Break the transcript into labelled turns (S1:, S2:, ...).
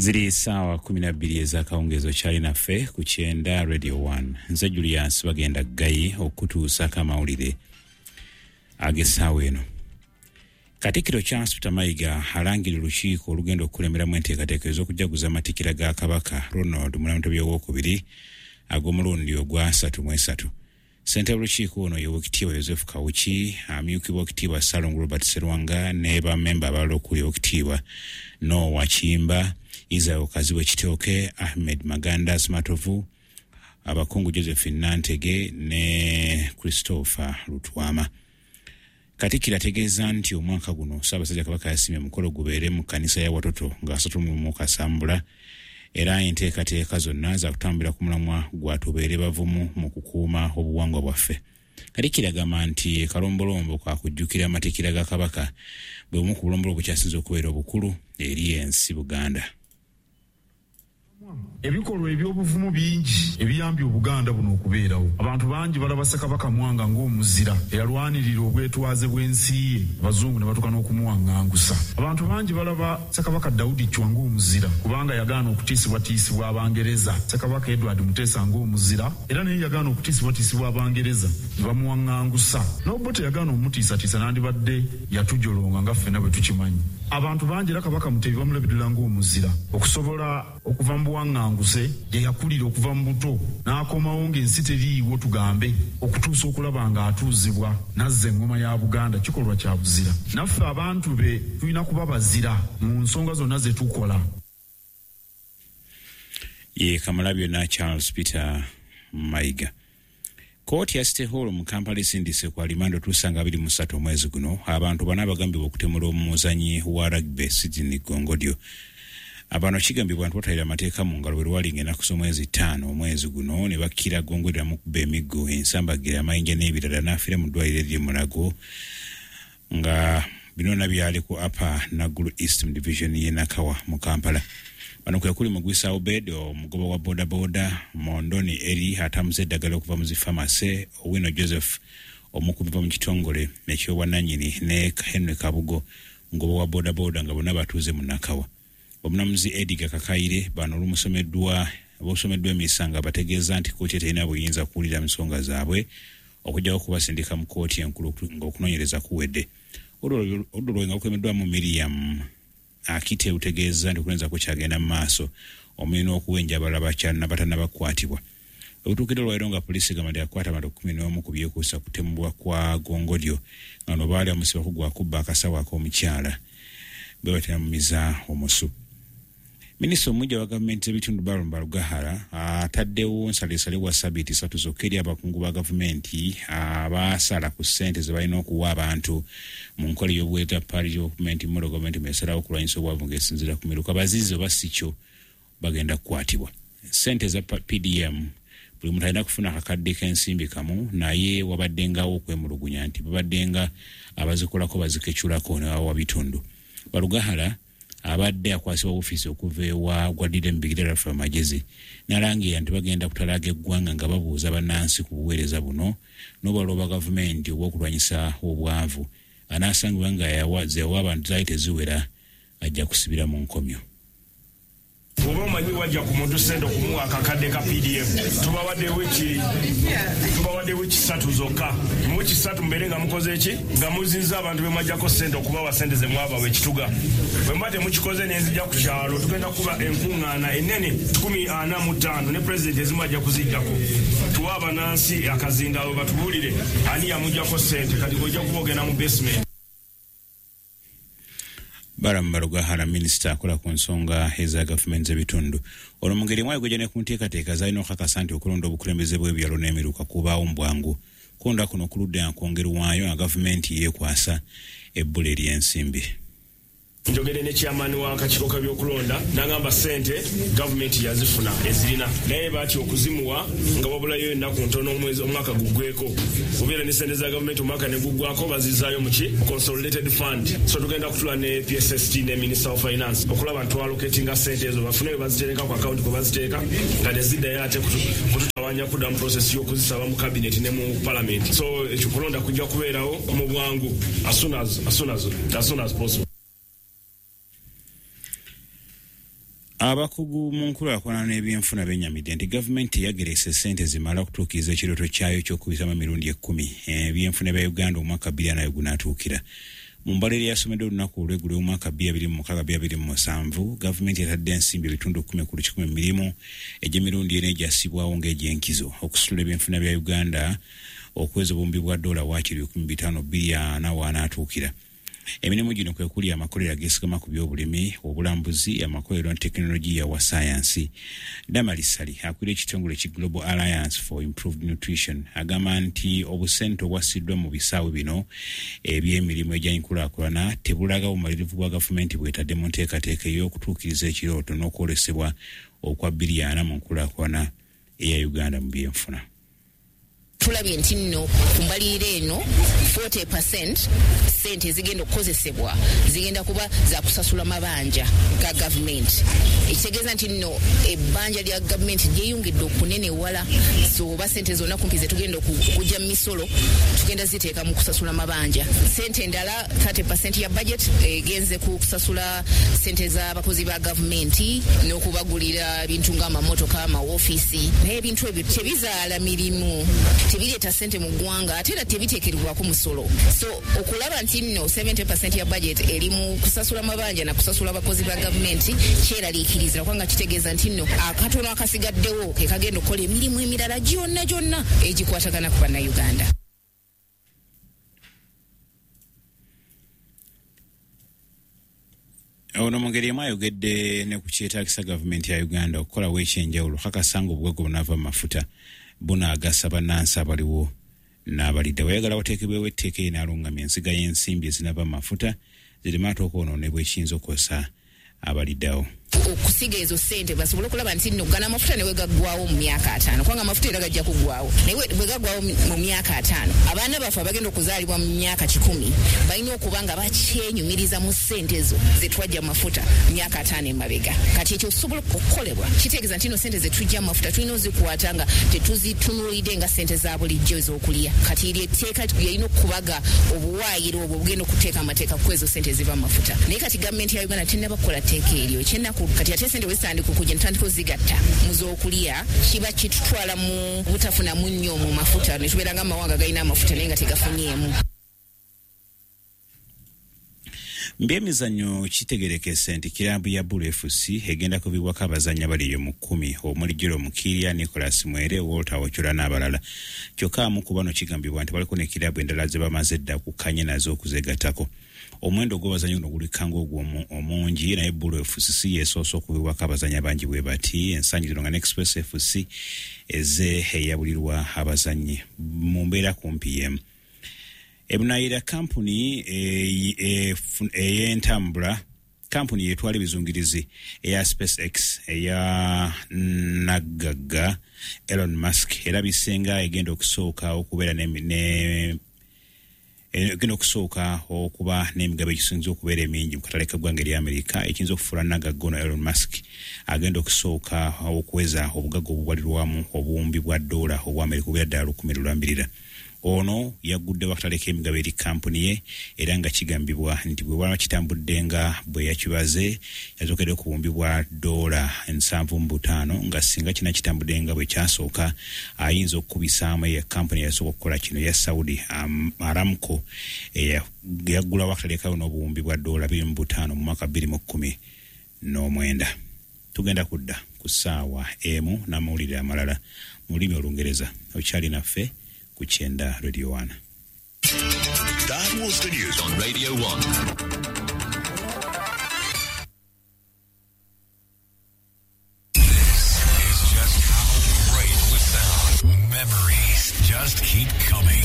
S1: Ziri ssaawa 12 ez'akawungeezi, okyali naffe ku Kyenda Radio 1. Nze Julius Bagenda Ggayi okutuusako amawulire ag'essaawa eno. Katikkiro Charles Peter Mayiga alangirira olukiiko olugenda okukulemberamu enteekateeka ez'okujaguza amatikkira ga Kabaka Ronald Munamutebi Owookubiri ag'omulundi ogwa 33. Ssentebe w'olukiiko ono ye Oweekitiibwa Yosefu Kawuki, amyukibwa Oweekitiibwa Ssalongo Robert Serwanga ne bammemba abalala okuli Oweekitiibwa Noah Kiyimba, Israel Kazibwe Kitooke, Ahmed Maganda Smatovu, abakungu Josephine Nantege ne Christopher Lutwama. Katikkiro ategeeza nti omwaka guno Ssaabasajja Kabaka yasiimye omukolo gubeere mu kkanisa ya Watoto nga 31 Kasambula, era enteekateeka zonna zakutambulira ku mulamwa gwa tubeere bavumu mu kukuuma obuwangwa bwaffe. Katikkiro agamba nti akalombolombo kakujjukira amatikkira ga Kabaka bwe bumu ku bulombolombo bukyasinze okubeera obukulu eri ensi Buganda.
S2: Ebikolwa eby'obuvumu bingi ebiyambye Obuganda buno okubeerawo. Abantu bangi balaba Ssekabaka Mwanga ng'omuzira eyalwanirira obwetwaze bw'ensi ye, Abazungu ne batuuka n'okumuwaŋŋangusa. Abantu bangi balaba Ssekabaka Daudi Chwa ng'omuzira kubanga yagaana okutiisibwatiisibwa Abangereza. Ssekabaka Edward Muteesa ng'omuzira era naye yagaana okutiisibwatiisibwa Abangereza ne bamuwaŋŋangusa. N'Obote yagaana omutiisatiisa nandibadde yatujolonga nga ffenna bwe tukimanyi. Abantu bangi era Kabaka Mutebi bamulabirira ng'omuzira okusobola okuva mu buwaŋŋanguse gye yakulira okuva mu buto n'akomawo ng'ensi teriiwo tugambe okutuusa okulaba ng'atuuzibwa n'azza eŋŋoma ya Buganda kikolwa kya buzira. Naffe abantu be tulina kuba bazira mu nsonga zonna ze tukola.
S1: Ye Kamalabyonna Charles Peter Mayiga. Kkooti ya City Hall mu Kampala esindise ku alimanda otuusa nga 23 omwezi guno abantu bana abagambibwa okutemula omuzanyi wa rugby Sydney Gongodyo. Abano kigambibwa nti batwalira amateeka mu ngalo bwe lwali ng'ennaku z'omwezi 5 omwezi guno ne bakkira Gongodyo namukuba emiggo, ensambagere, amayinja n'ebirala n'afiira mu ddwaliro ery'e Mulago nga bino byonna byali ku Upper Naggulu East mu division y'e Nakawa mu Kampala. Bano kwe kuli Mugwisa Obed, omugoba wa bodaboda, Mondoni Eri atambuza eddagala okuva mu zi pharmacy, Owino Joseph omukubi mu kitongole eky'obwannannyini ne Henry Kabugo mugoba wa bodaboda nga bonna batuuze mu Nakawa. Omulamuzi Edgar Kakaire bano olumusomeddwa bosomeddwa emisango abategeeza nti kkooti terina buyinza kuwulira nsonga zaabwe okuggyako okubasindika mu kkooti enkulu ng'okunoonyereza kuwedde. Oludda olwo nga lukulembeddwamu Miriam Akite lutegeeza nti okunoonyereza kukyagenda mu maaso omuli n'okuwenja abalala batannabakwatibwa. Olutuukidde olwaleero nga poliisi egamba nti yakwata abantu 11 ku byekuusa kutemulwa kwa Gongodyo nga bano baali bamusibako gwa kubba akasawo ak'omukyala bwe bateramumiza omusu. Minisita omuggya wa gavumenti z'ebitundu Balaam Barugahara ataddewo nsalesale wa sabbiiti 3 zokka eri abakungu ba gavumenti abasala ku ssente ze balina okuwa abantu mu nkola ey'obuweereza parish development model gavumenti mwesalawo okulwanyisa obwavu ng'esinziira ku miruka. Bazizi oba si kyo bagenda kukwatibwa. Ssente za PDM buli muntu alina kufuna akakadde k'ensimbi kamu, naye wabaddengawo okwemulugunya nti babaddenga abazikolako bazikeculako ne babawa bitundu. Barugahara abadde akwasibwa ofiisi okuva ewa gwadidde mu bigere Raphael Magezi n'alangirira nti bagenda kutalaaga eggwanga nga babuuza bannansi ku buweereza buno n'obulala obwa gavumenti obw'okulwanyisa obwavu. Anaasangibwa nga zeyawa abantu zaali teziwera ajja kusibira mu nkomyo.
S3: Oba omanyi wajja ku muntu ssente okumuwa akakadde ka PDM, tubawadde wiiki 3 zokka. Mu wiiki 3 mubeere nga mukoze ki? Nga muzizza abantu be mwajjako ssente okubawa ssente ze mwabawa ekituga. Bwe muba temukikoze ne nzija ku kyalo, tugenda kuba enkuŋŋaana ennene 45 ne pulezidenti ezimu ajja kuzijjako. Tuwe abannansi akazindaalo batubuulire ani yamuggyako ssente. Kati ojja kuba ogenda mu basement.
S1: Balaam Barugahara minisita akola ku nsonga eza gavumenti z'ebitundu. Olwo mu ngeri emu ayogedde ne ku nteekateeka z'alina okukakasa nti okulonda obukulembeze bw'ebyalo n'emiruka kubaawo mu bwangu. Kulonda kuno kuludde nga kwongerwayo nga gavumenti yeekwasa ebbula ery'ensimbi.
S3: Njogedde ne chairman w'akakiiko k'ebyokulonda n'angamba ssente gavumenti yazifuna ezirina, naye batya okuzimuwa nga wabulayo ennaku ntono omwaka guggweko. Obeera ne ssente za gavumenti omwaka ne guggwako bazizaayo mu ki consolidated fund. So tugenda kutula ne PSST ne Minister of Finance okulaba nti twaloketinga ssente ezo bafune we bazitereka ku account kwe baziteeka nga teziddayo ate kututawanya kuddamu process y'okuzisaba mu cabinet ne mu parliament. So ekyo kulonda kujja kubeerawo mu bwangu as soon as possible.
S1: Abakugu mu nkulaakulana n'ebyenfuna bennyamidde nti gavumenti yageresa ssente zimala okutuukiriza ekirooto kyayo eky'okubisamu emirundi 10 ebyenfuna bya Uganda omwaka 20 gunaatuukira. Mu mbalirira yasomeddwa olunaku olw'eggulo omwaka 2026-2027, gavumenti yatadde ensimbi ebitundu 10 ku lukikumi mu mirimu egy'emirundi ena egyassibwawo ng'egyenkizo okusitula ebyenfuna bya Uganda okuweza obuwumbi bwa dola waakiri 5,240 w'anaatuukira. Emirimu gino kwe kuli amakolero ageesigama ku byobulimi, obulambuzi, amakolero ne tekinologiya wa ssaayansi. Damaris Ssali akulira ekitongole ki Global Alliance for Improved Nutrition agamba nti obusente obwassiddwa mu bisaawe bino eby'emirimu egy'enkulaakulana tebulaga bumalirivu bwa gavumenti bwetadde mu nteekateeka ey'okutuukiriza ekirooto n'okwolesebwa okwa 2040 mu nkulaakulana eya Uganda mu byenfuna.
S4: Tulabye nti nno ku mbalirira eno 40% ssente ezigenda okukozesebwa zigenda kuba za kusasula mabanja ga gavumenti, ekitegeeza nti nno ebbanja lya gavumenti lyeyongedde okunenewala. So oba ssente zonna kumpi ze tugenda okujja mu misolo tugenda ziteeka mu kusasula mabanja. Ssente endala 30% ya budget egenze ku kusasula ssente z'abakozi ba gavumenti n'okubagulira ebintu ng'amamotoka, amawofiisi, naye ebintu ebyo tebizaala mirimu, tebireeta ssente mu ggwanga, ate era tebiteekerwako musolo. So okulaba nti nno 70% ya budget eri mu kusasula mabanja na kusasula abakozi ba gavumenti kyeraliikiriza, kubanga kitegeeza nti nno akatono akasigaddewo ke kagenda okukola emirimu emirala gyonna gyonna egikwatagana ku Bannayuganda.
S1: Ono mu ngeri emu ayogedde ne ku kyetaagisa gavumenti ya Uganda okukolawo ekyenjawulo kakasa nga obugagga obunaava mu mafuta bunaagasa bannansi abaliwo n'abalidda. Bw'ayagala wateekebwewo etteeka erinaalungamya ensiga y'ensimbi ezinava mu mafuta zireme ate okwonoonebwa ekiyinza okukosa abaliddawo.
S4: Okusiga ezo ssente basobole okulaba nti nno gano amafuta ne bwe gaggwawo mu myaka 50, kubanga amafuta era gajja kuggwawo, naye bwe gaggwawo mu myaka 50 abaana baffe abagenda okuzaalibwa mu myaka 100 balina okuba nga bakyenyumiriza mu ssente ezo ze twajja mu mafuta myaka 50 emabega. Kati ekyo okusobola okukolebwa kitegeeza nti nno ssente ze tujja mu mafuta tulina ozikwata nga tetuzitunuulidde nga ssente za bulijjo ez'okulya. Kati eryo etteeka lyerina okubaga obuwaayiro obwo obugenda okuteeka amateeka ku ezo ssente eziva mu mafuta, naye kati gavumenti ya Uganda tennaba kukola tteeka eryo. Ekyennaku kati ate ssente bwe zitandika okujja ne tutandika ozigatta mu z'okulya, kiba kitutwala mu butafunamu nnyo mu mafuta, ne tubeera nga amawanga galina amafuta naye nga tegafunyeemu.
S1: Mbyemizannyo kitegerekese nti kiraabu ya Bulu FC egenda kubibwako abazannyi abali eyo mu 10 omuli Jerome Kiria, Nicholas Mwere, Walter Ochola n'abalala. Kyokka amu ku bano kigambibwa nti baliko ne kiraabu endala ze bamaze edda okukkanya nazo okuzeegattako. Omuwendo gw'abazannyi guno gulikka ng'ogwo omungi, naye Bulu FC si yeesoose okubibwako abazannyi abangi bwe bati ensangi zino nga ne Express FC ezze eyabulirwa abazannyi mu mbeera kumpi y'emu. Ebunayira kampuni ey'entambula kampuni yetwala ebizungirizi eya SpaceX eya naggagga Elon Musk era bisenga egenda okusooka okubeera egenda okusooka okuba n'emigabo egisinze okubeera emingi mu katale k'eggwanga erya Amerika, ekiyinza okufuula nagagga ono Elon Musk agenda okusooka okuweza obugagga obubalirwamu obuwumbi bwa dola obwa Amerika obuwera ddala 1,000 lulambirira. Ono yagguddewo akatale k'emigabo eri kampuni ye era nga kigambibwa nti bwe bwaba kitambudde nga bwe yakibaze yatookedde ku buwumbi bwa dola 75, nga singa kina kitambudde nga bwe kyasooka ayinza okukubisaamu eya kampuni eyasooka okukola kino eya Saudi Aramco eyaggulawo akatale kayo n'obuwumbi bwa dola 25 mu mwaka 2019. Tugenda kudda ku ssaawa emu n'amawulire amalala mu lulimi Olungereza. Okyali naffe ku Kyenda Radio 1.
S5: That was the news on Radio 1. This is just how great we sound. Memories just keep coming.